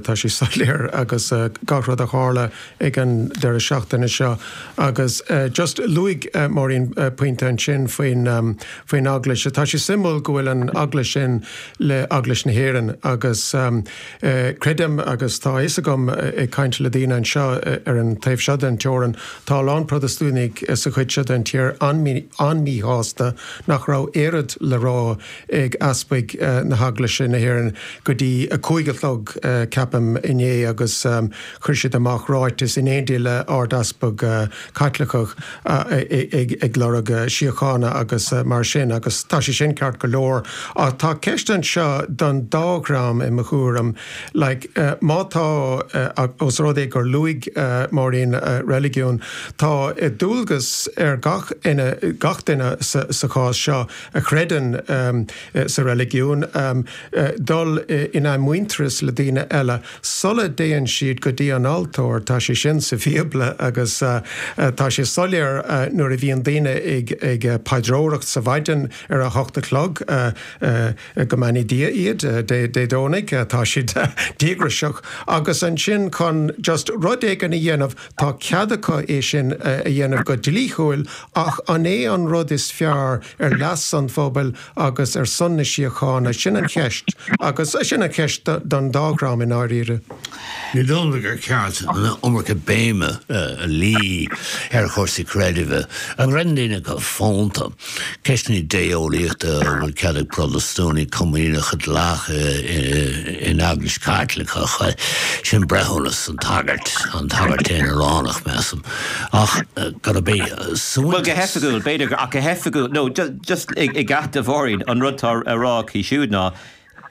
tá sé soiléir agus gach rud a tharla ag an deireadh seachtaine seo. Agus just luaigh Máirín pointe ansin faoin faoin Eaglais. Tá sé suimiúil go bhfuil an Eaglais sin le Eaglais na hÉireann agus creidim agus tá a fhios agam ag caint le daoine anseo ar an taobh seo den teorainn, tá a lán Protastúnaigh sa chuid seo den tír an-míshásta nach raibh oiread le rá ag easpaig na hEaglaise na hÉireann go dtí a 5 a chlog, ceapaim, inné agus chuir siad amach ráiteas in éindí le Ard-Easpag Caitliceach ag lorg síochána agus mar sin agus tá sé sin ceart go leor ach tá ceist anseo don dá dhream i mo thuairim like má tá os rud é gur luaigh Máirín reiligiún tá dualgas ar gach gach duine sa chás seo a chreideann sa reiligiún, dul in athmhuintearas le daoine eile sula dtéann siad go dtí an altóir. Tá sé sin sa Bhíobla agus tá sé soiléir nuair a bhíonn daoine ag paidreoireacht sa mhaidin ar a hocht a chlog, go mbeannaí Dia iad, Dé Domhnaigh, tá siad díograiseach agus ansin chun just rud éigin a dhéanamh, tá cead acu é sin a dhéanamh go dlíthiúil ach an é an rud is fearr ar leas an phobail agus ar son na síochána? Sin an cheist. Agus sin an cheist don dá dhream i ndáiríre. Ní dóigh liom gur ceart an iomarca béime a luí ar chúrsaí creidimh. An gcreideann daoine go fónta? Ceisteanna idé-eolaíochta, an bhfuil cead ag Protastúnaigh comaoineach a ghlacadh in Eaglais Chaitliceach? Sin breithiúnas an tsagairt, an tsagairt aonaránach, measaim. Ach gurb é Bhuel, go hoifigiúil, b'fhéidir, ach go hoifigiúil, no, just i gceart do Mháirín, an rud atá á rá aici siúd ná,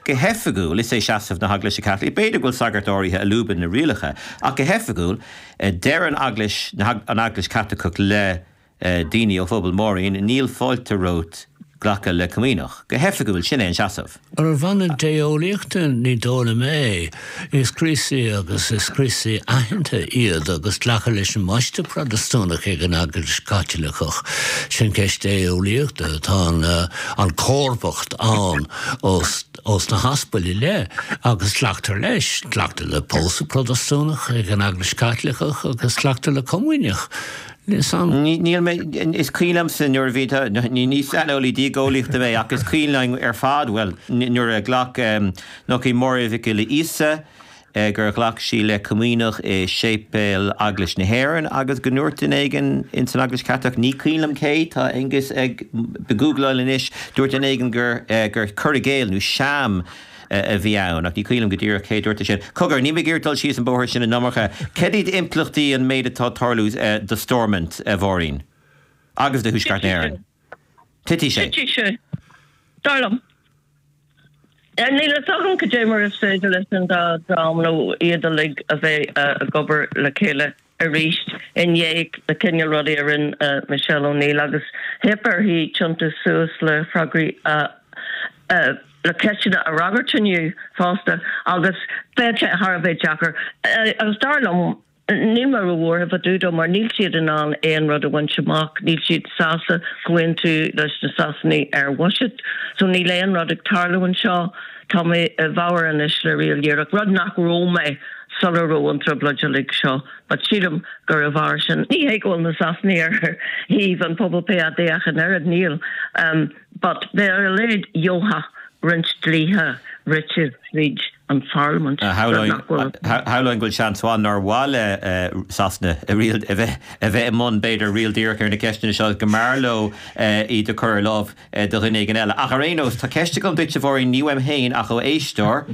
go hoifigiúil, is é seasamh na hEaglaise Caitlicí, b'fhéidir go bhfuil sagairt áirithe a lúbann na rialacha, ach go hoifigiúil, deir an Eaglais, an Eaglais Chaitliceach le daoine ó phobal Mháirín, níl fáilte romhat glacadh le comaoineach. Go hoifigiúil, sin é an seasamh. Ar bhonn idé-eolaíochta, ní dóigh liom é. Is Críostaí agus is Críostaí aitheanta iad agus glacadh leis an mbaisteadh Protastúnach ag an Eaglais Chaitliceach. Sin ceist idé-eolaíochta. Tá an chomharbacht ann ós na haspail i leith agus glactar leis. Glactar le pósadh Protastúnach ag an Eaglais Chaitliceach agus glactar le comaoineach. Níl mé, is cuimhin liomsa nuair a bhí, ní saineolaí diageolaíochta mé ach is cuimhin linn ar fad, bhuel, nuair a ghlac nach í Máire Mhic Giolla Íosa, gur ghlac sí le comaoineach i séipéal Eaglais na hÉireann agus go ndúirt duine éigin ins an Eaglais Chaitliceach, ní cuimhin liom cé, tá Aengus ag googláil anois, dúirt duine éigin gur, gur cur i gcéill nó sham a bhí ann, ach ní cuimhin liom go díreach cé a dúirt é sin. Cogar, níl mé ag iarraidh dul síos an bóthar sin an iomarca. Cad iad impleachtaí an méid atá ag tarlú do Stormont, a Mháirín? Agus do Thuaisceart na hÉireann? Titfidh sé. Titfidh sé. Dar liom. Níl a fhios agam cad é mar is féidir leis an dá dhream nó iad uilig a bheith ag obair le chéile. arís i ndiaidh na cineál rudaí a rinne Michelle O'Neill agus theip uirthi tiontú suas le freagraí le ceisteanna a fhreagairt inniu fosta agus beidh sé thar a bheith deacair agus dar liom níl mé róbhuartha fá dtaobh dó mar níl siad in ann aon rud a bhaint amach, níl siad sásta comhaontú leis na Sasanaigh ar bhuiséad so níl aon rud ag tarlú anseo. Tá mé i bhfabhar anois le Riail Dhíreach, rud nach raibh mé sula raibh an trioblóid uilig seo, but sílim gur a bharr sin, ní hé go bhfuil na Sasanaigh ar thaobh an pobal PAD ach an oiread, níl, but beidh ar a laghad gheobhaidh roinnt dlíthe rite tríd an pharlaimint, rud nach bhfuil. Shamhlóinn go bhfuil seans mhaith nár mhaith le Sasana a bheith a bheith i mbun, b'fhéidir, riail dhíreach ar na ceisteanna seo, go mb'fhearr leo iad a chur ar láimh do dhuine éigin eile. Ach ar aon nós, tá ceist agam duit, a Mháirín, ní uaim féin ach ó éisteoir,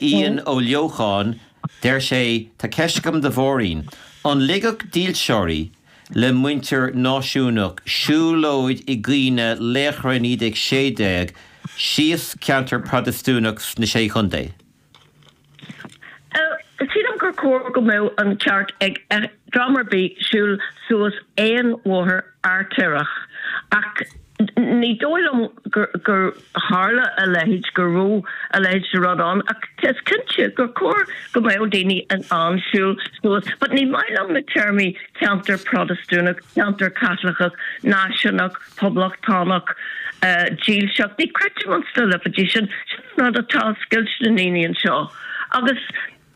Ian Ó Leocháin. Deir sé, Tá ceist agam do Mháirín. An ligfeadh dílseoirí le muintir náisiúnach siúlóid i gcuimhne laochra 1916 síos ceantar Protastúnach sna Sé Chontae? Sílim gur chóir go mbeadh an ceart ag dream ar bith siúl suas aon bhóthar artaireach ach ní dóigh liom gur tharla a leithéid, go raibh a leithéid de rud ann ach is cinnte gur chóir go mbeadh daoine in ann siúl suas. But ní maith liom na téarmaí ceantar Protastúnach, ceantar Caitliceach, náisiúnach, poblachtánach, dílseach. Ní chreidim ins na lipéidí sin. Sin an rud atá scoilte na ndaoine anseo. Agus.